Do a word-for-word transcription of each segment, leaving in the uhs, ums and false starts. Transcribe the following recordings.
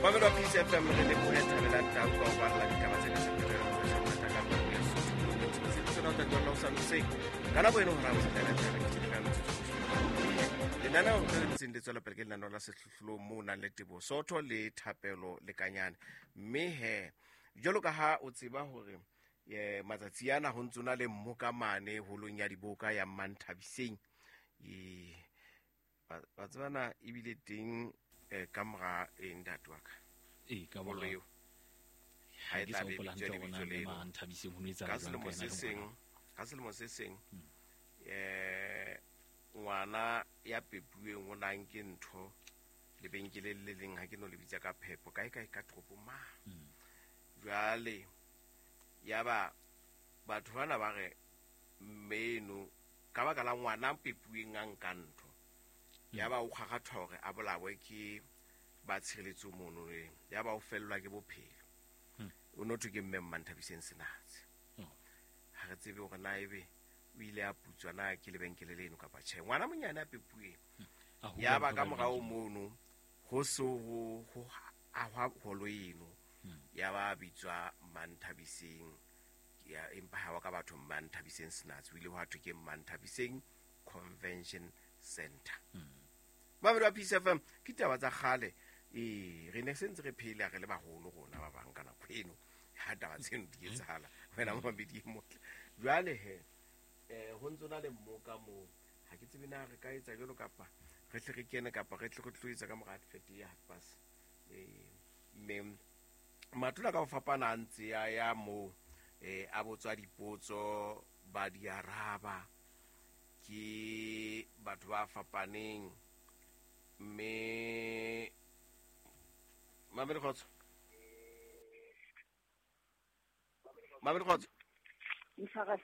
Mamelo wa Peace F M re lebohe Thabelang Tau ka ho balla ditaba tse tsa ka puo ya Sesotho. Tsena o tla tlohella ho sa hoseng. Ka nako eno hora ho fihlela tla re ka metsotso. Lenaneo le ntseng le tswela pele ke lenaneo la sehlohlolong moo nang le Teboho Sotho le Thapelo Lekanyane. Mme he jwalo ka ha o tseba hore eh matsatsi ana ho ntse na le mmoka mane holong ya diboka ya Manthabiseng. E ba tsebana ebile teng ka mora eng ntate wa ka. E ka mora eo. Ha e tla be bitswa lebitso leo. Manthabiseng ho no etsahala Ka selemo se seng, ka selemo se seng eh ngwana ya pepuweng o nang ke ntho lebenkeleng le leng ha ke no le bitsa ka phepo kae kae ka toropong ma. Jwale ya ba batho bana ba re mmeno ka baka la ngwana pepuweng a nka ntho. Ya ba o kgakgathwa hore a bolawe ke ba tshireletso mono le ya ba o fellwa ke bophelo. O no thwe ke mme Manthabiseng Senatse. Ha re tsebe hore na ebe o ile a putswa na ke lebenkele leno kapa tjhe. Ngwana monyane a pepuweng. Ya ba ka morao mono ho so ho ho ahwa holo eno. Ya ba bitswa Manthabiseng ya empa ha wa ka batho Manthabiseng Senatse o ile hwa thwe ke Manthabiseng Convention Center. Mamelo wa Peace F M ke taba tsa kgale e re ne sentse re phela re le baholo rona ba bang ka nako eno ha taba tseno di etsahala wena momamedi e motle. Jwale he eh ho ntse na le mmoka moo ha ke tsebe na re ka etsa jwalo kapa re tle re kene kapa re tle re tlo etsa ka mora advert ya half past. Eh mme matula ka ho fapana a ntse ya ya moo eh a botswa dipotso ba di araba ke batho ba fapaneng mme Mamelo kgotso. Mamelo kgotso. Msakazi.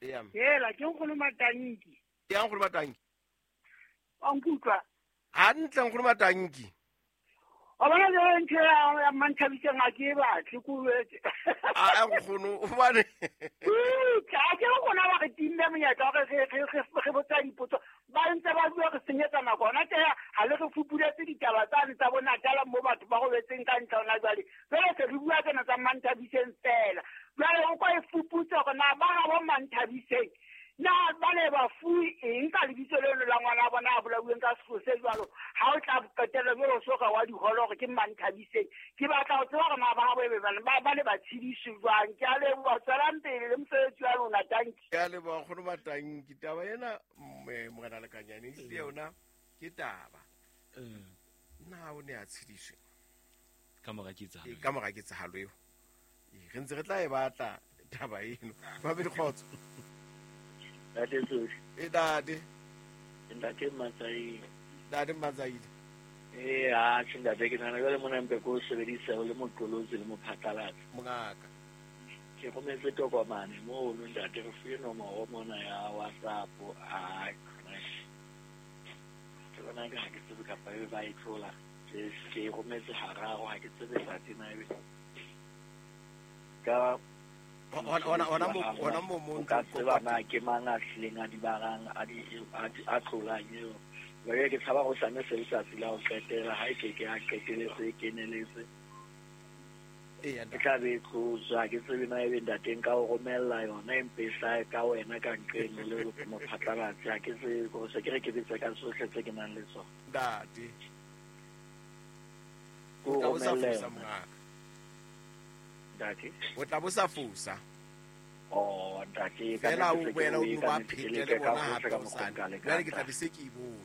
Yeah. Hela ke nkgono Matanki. Ya nkgono Matanki. Wa nkutlwa. Hantle nkgono Matanki. O bona jwale ntho ya ya Manthabiseng ha ke e batle ko jwetse. A nkgono o bane. Ka ke rona ba re timme monyetla hore re re re re botsa dipotso. Ba ntse ba bua re senyetsa nako hona tje ha le re fupuletse ditaba tsane tsa bona Natala mo batho ba robetseng ka ntle hona jwale. Jwale se re bua tsena tsa Manthabiseng fela. Jwale o kwa e fuputse hore na ba ga bo Manthabiseng na ba ne ba fuwe eng ka lebitso leno la ngwana wa bona a bolauweng ka sekolo se jwalo. Ha o tla qetella jwalo so ka wa diholo hore ke Manthabiseng. Ke batla ho tseba hore na ba gabo ebe ba ba ne ba tshediswe jwang. Ke a leboha, tswelang pele le mosebetsi wa lona, tanki. Ke a leboha nkgono Matanki. Taba ena morena Lekanyane ehlile yona ke taba. Na o ne a tshediswe ka mora ketsahalo? Ka mora ketsahalo eo. Re ntse re tla e batla taba eno. Mamedi kgotso. Ntate Tsosi. E ntate. Ntate Matsaile. Ntate Matsaile. Eh ha tjhe ntate ke nahana jwale mona mpe ko sebedisa o le moqolotsi le mophatlalatsi. Mongaka. Ke rometse tokomane mono ntate re fuwe nomoro mona ya WhatsApp. A ke bona ke ha ke tsebe kapa ebe ba e tlola. Ke ke rometse hararo ha ke tsebe ntate na ebe. Ka ona ona mo ona mo mo ka tseba na ke mang a hlileng a di barang a di a tlolang eo. Jwale ke tshaba ho sane se letsatsi la ho qetela ha e ke ke a qeteletse e keneletse. E tla be e tlotswa ke tsebe na ebe ntateng ka o romella yona empe e hlahe ka wena ka nqeng le mophatlalatsi. Ha ke tsebe ko se ke re ke bitse ka tsohle tse ke nang le tsona. Ntate. Ko O tla bo sa romella fosa yona. mongaka. Ntate. O tla bo sa fosa. Oh ntate ka Fela o nnete se ke boela o o e no ka ba nnete ke phete le leke ka bona hohle hape ka o mokgwa sane. nka lekang Jwale ke tla ntate. be se ke e bone.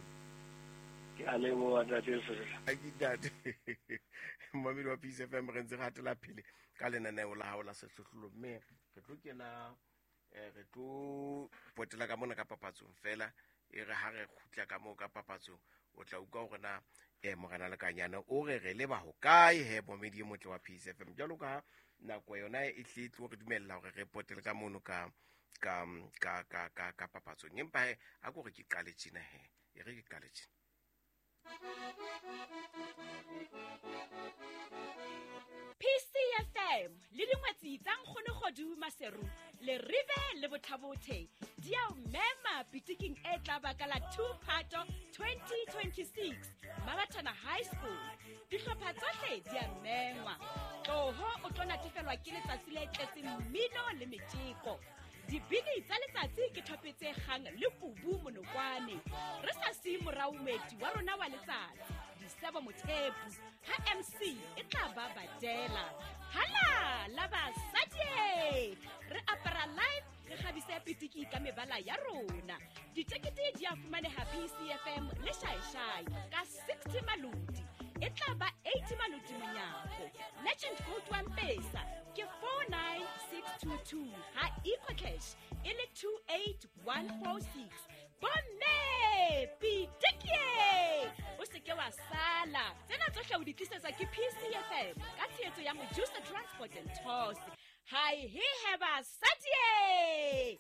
Ke a leboha ntate Sehla. Ha ke ntate. Momamedi wa Peace F M re ntse re hatela pele ka lenaneo la hao la sehlohlolo mme re tlo kena eh re tlo potela ka mona ka papatsong fela e re ha re kgutla ka moo ka papatsong o tla utlwa hore na eh morena Lekanyane o re re leba hokae he momamedi e motle wa Peace F M. Jwalo ka nako yona e hle e tlo re dumella hore re potele ka mono ka ka ka ka ka ka papatsong empa he a ko re ke qale tjena he e re ke qale tjena. P C F M le dingwetsi tsa Nkgono Kgodu Maseru le Rive le Bothabothe di a o mema pitiking e tla ba ka la two Phato twenty twenty-six Mabatana High School. Dihlopha tsohle di a mengwa. Tloho o tlo natefelwa ke letsatsi le tletseng mmino le metjeko. Dibini tsa letsatsi ke thope tse kgang le kubu monokwane. Re sa siye morao moeti wa rona wa letsatsi, Disebo Mothepu, ha M C e tla ba badela. Hala la basadi! Re apara live, re kgabise pitiki ka mebala ya rona. Ditekete di a fumaneha P C F M le Shaeshai ka sixty maloti. E tla ba eighty maloti monyako. Legend code wa M-Pesa ke four nine six two two, ha EcoCash e le two eight one four six. Bomme, pitikie! O se ke wa sala. Tsena tsohle o di tlisetswa ke P C F M ka tshehetso ya Mojusa Transport and Tours. Hi, he he basadi!